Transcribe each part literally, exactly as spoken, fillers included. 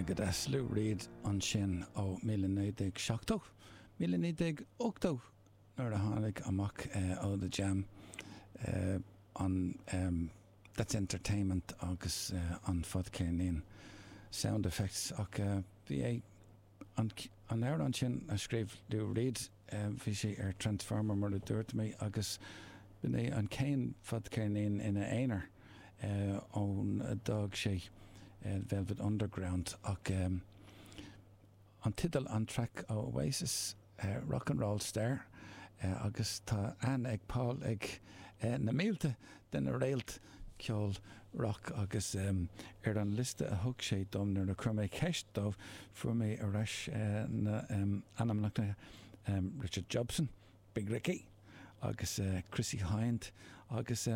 Go deas Lou Reed ansin ó míle naoi déag seachtó, míle naoi déag ochtó nuair a tháinig amach ó The Jam an That's Entertainment agus an fadcheirnín Sound Effects ach bhí é an amhrán sin a scríobh Lou Reed bhí sé ar Transformer mar a dúirt mé agus b'in é an chéad fadcheirnín ina aonar ón d'fhág sé Velvet Underground ach an teideal an traic ó Oasis Rock and Roll Star agus tá aithne ag Paul ag na mílte de na réalta ceol rock agus ar an liosta a thug sé dom nuair a chuir mé ceist dó fuair mé ar ais na ainmneacha Richard Jobson, Big Ricky agus Chrissie Hynde agus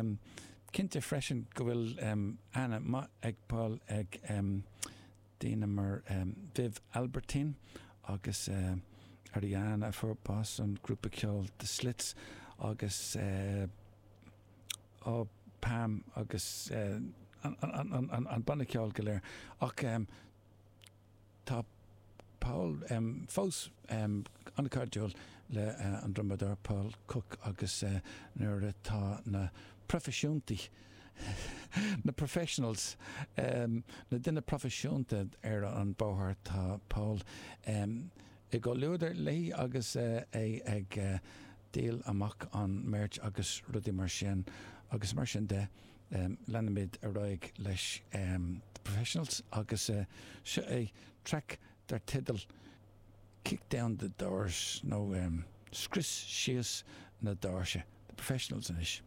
cinnte freisin go bhfuil aithne maith ag Paul ag daoine mar Viv Albertine agus Ariana a fuair bás an grúpa ceoil The Slits agus ó Pam agus an banna ceoil go léir ach tá Paul fós an-chairdiúil le an drumadóir Paul Cook agus nuair atá na proifisiúntaí na professionals na daoine proifisiúnta ar an bóthar tá Paul i gcomhluadar léi agus é ag díol amach an merch agus rudaí mar sin agus mar sin de leanaimid ar aghaidh leis The Professionals agus seo é traic dar teideal Kick Down the Doors nó um, scrios síos na doirse The Professionals anois.